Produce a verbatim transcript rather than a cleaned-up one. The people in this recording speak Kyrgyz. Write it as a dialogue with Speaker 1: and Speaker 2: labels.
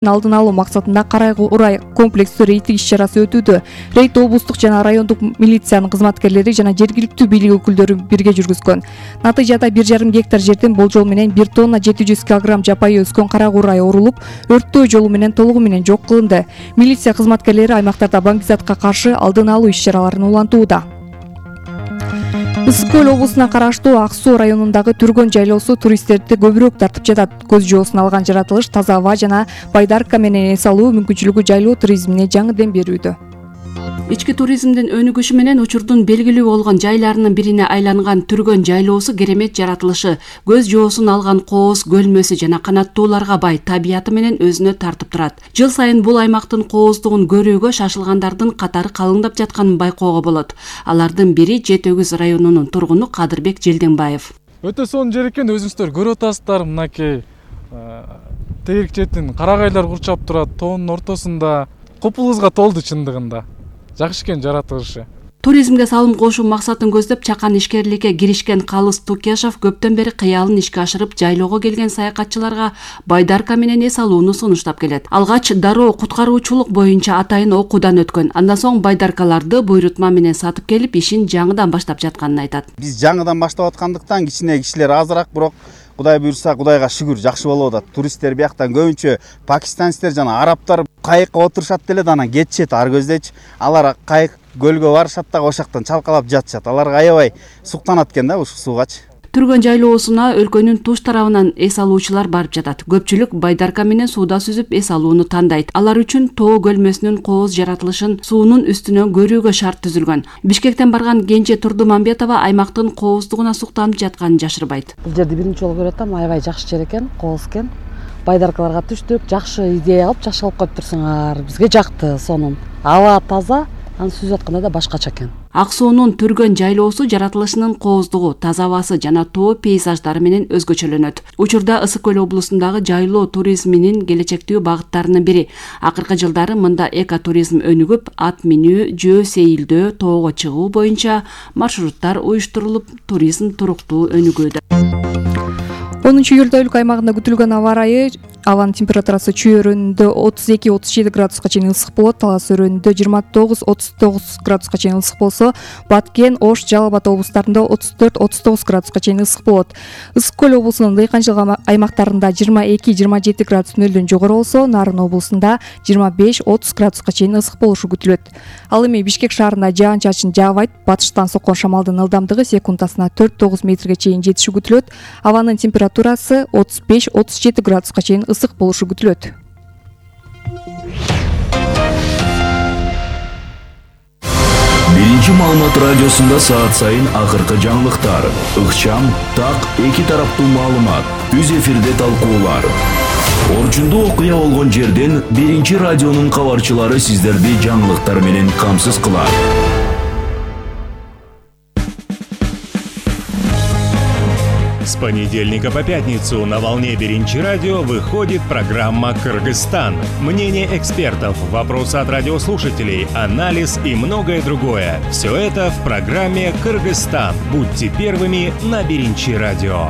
Speaker 1: алдын алуу максатында Кара-Урай комплексти рейдтик иш-чарасы өтүүдө. Рейд облустук жана райондук милициянын кызматкерлери жана жергиликтүү бийлик өкүлдөрү бирге жүргүзгөн. Натыйжада бир жарым гектар жерден болжол менен бир тонна жети жүз килограмм жапайы өскөн Кара-Урай урулуп, өрттөө жолу менен толугу менен жок кылынды. Милиция кызматкерлери аймактарда баңгизатка каршы алдын алуу иш-чараларын улантууда. Ысык көл облусуна караштуу Ак Суу районундагы Түргөн жайлоосу туристтерди көбүрөөк тартып жатат. Көз жоосун алган жаратылыш таза аба жана байдарка менен эс алуу мүмкүнчүлүгү жайлоо туризмине жаңы дем берүүдө.
Speaker 2: Ички туризмдин өнүгүшү менен учурдун белгилүү болгон жайларынын бирине айланган Түргөн жайлоосу керемет жаратылышы, көз жоосун алган кооз көлмөсү жана канаттууларга бай табияты менен өзүнө тартып турат. Жыл сайын бул аймактын кооздугун көрүүгө шашылгандардын катары калыңдап жатканын байкоого болот. Алардын бири Жети Өгүз районунун тургуну Кадырбек Желденбаев.
Speaker 3: Өтө сонун жер экен, өзүңүздөр көрүп атасыздар. Мынакей тегерек четин карагайлар курчап турат, тоонун ортосунда копулубузга толду чындыгында. Жакшы экен жаратылышы.
Speaker 2: Туризмге салым кошуу максатын көздөп чакан ишкерликке киришкен Калыс Тукешов көптөн бери кыялын ишке ашырып, жайлоого келген саякатчыларга байдарка менен эс алууну сунуштап келет. Алгач дароо куткаруучулук боюнча атайын окуудан өткөн. Андан соң байдаркаларды буйрутма менен сатып келип, ишин жаңыдан баштап жатканын айтат.
Speaker 4: Биз жаңыдан баштап аткандыктан кичине кишилер азыраак, бирок Кудай буйрса, Кудайга шүгүр, жакшы болуп атат. Туристтер бияктан көбүнчө пакистанецтер жана арабтар кайыкка отурушат деле, анан кетишет ар көздечи. Алар кайык көлгө барышат да ошактан чалкалап жатышат. Аларга аябай суктанат экен да ушул суугачы.
Speaker 2: Түргөн жайлоосуна өлкөнүн туш тарабынан эс алуучулар барып жатат. Көпчүлүк байдарка менен сууда сүзүп эс алууну тандайт. Алар үчүн тоо көлмөсүнүн кооз жаратылышын суунун үстүнөн көрүүгө шарт түзүлгөн. Бишкектен барган Кенже Турдумамбетова аймактын кооздугуна суктанып жатканын жашырбайт.
Speaker 5: Бул жерди биринчи жолу көрүп атам, аябай жакшы жер экен, кооз экен. Байдаркаларга түштүк, жакшы идея алып, жакшы алып коюптурсуңар. Бизге жакты сонун. Аба таза, аны сүзүп атканда да башкача экен.
Speaker 2: Ак Суунун Түргөн жайлоосу жаратылышынын кооздугу, таза абасы жана тоо пейзаждары менен өзгөчөлөнөт. Учурда Ысык көл облусундагы жайлоо туризминин келечектүү багыттарынын бири. Акыркы жылдары мында экотуризм өнүгүп, ат минүү, жөө сейилдөө, тоого чыгуу боюнча маршруттар уюштурулуп, туризм туруктуу өнүгүүдө.
Speaker 1: онунчу июлда өлкө аймагында күтүлгөн аба ырайы абанын температурасы Чүй өрөөнүндө отуз эки отуз жети градуска чейин ысык болот, Талас өрөөнүндө жыйырма тогуз отуз тогуз градуска чейин ысык болсо, Баткен, Ош, Жалал Абад облустарында отуз төрт отуз тогуз градуска чейин ысык болот. Ысык көл облусунун дыйканчылык аймактарында жыйырма эки жыйырма жети градус нөлдөн жогору болсо, Нарын облусунда жыйырма беш отуз градуска чейин ысык болушу күтүлөт. Ал эми Бишкек шаарында жаан-чачын жаабайт, батыштан соккон шамалдын ылдамдыгы секундасына төрт тогуз метрге чейин жетиши күтүлөт. Абанын температурасы отуз беш отуз жети градуска чейин ысык болушу күтүлөт.
Speaker 6: Биринчи маалымат радиосунда саат сайын акыркы жаңылыктар, ыкчам, так, эки тараптуу маалымат, үз эфирде талкуулар. Орчундуу окуя болгон жерден биринчи радионун кабарчылары сиздерди жаңылыктар менен камсыз кылат.
Speaker 7: С понедельника по пятницу на волне Биринчи радио выходит программа «Кыргызстан». Мнение экспертов, вопросы от радиослушателей, анализ и многое другое. Все это в программе «Кыргызстан». Будьте первыми на Биринчи радио.